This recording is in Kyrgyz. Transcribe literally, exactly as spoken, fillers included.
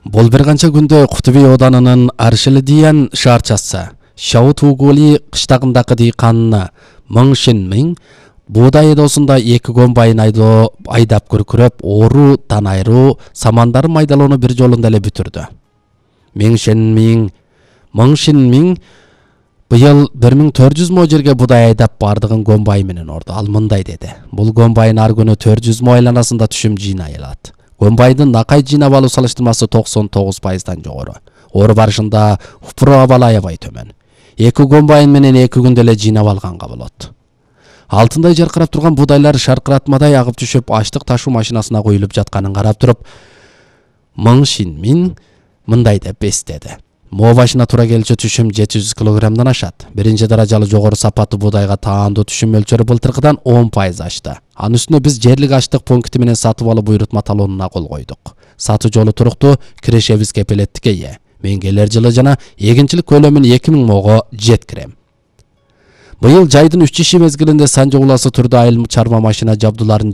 Бул бир канча күндө Кутуби Оданынын Аршили деген шаарчасы Шаутугули кыштагындагы дыйканына Мың Шинмиң буудай эдосунда эки комбайн айдоо айдап күркүрөп, оору, танайруу, самандары майдалоону бир жолунда эле бүтүрдү. Мың Шинмиң Мың Шинмиң быйыл бир миң төрт жүз мо жерге буудай айдап бардыгын комбайн менен орду. Ал мындай деди: бул комбайн ар күнү төрт жүз мо айланасында түшүм жыйнай алат. Комбайндын накай жыйнап алуу салыштырмасы токсон тогуз пайыздан жогору. Оор барышында упуру абалы аябай төмөн. Эки комбайн менен эки күндө эле жыйнап алганга болот. Алтындай жаркырап турган буудайлар шаркыратмадай агып түшүп, аштык ташуу машинасына коюлуп жатканын карап туруп, Мың Шинмиң мындай деп эстеди: мо башына туура келчү түшүм жети жүз килограммдан ашат. Биринчи даражалуу жогору сапаттуу буудайга таандуу түшүм мөлчөрү былтыркыдан он пайыз ашты. Анын үстүнө биз жерлик аштык пункти менен сатып алуу буйрутма талоонуна кол койдук. Сатуу жолу туруктуу, кирешебиз кепилеттикке ээ. Мен келер жылы жана эгинчилик көлөмүн эки миң мого жеткирем. Быйыл жайдын үч иши мезгилинде Санжа уласы түрдө айыл чарба машина жабдууларын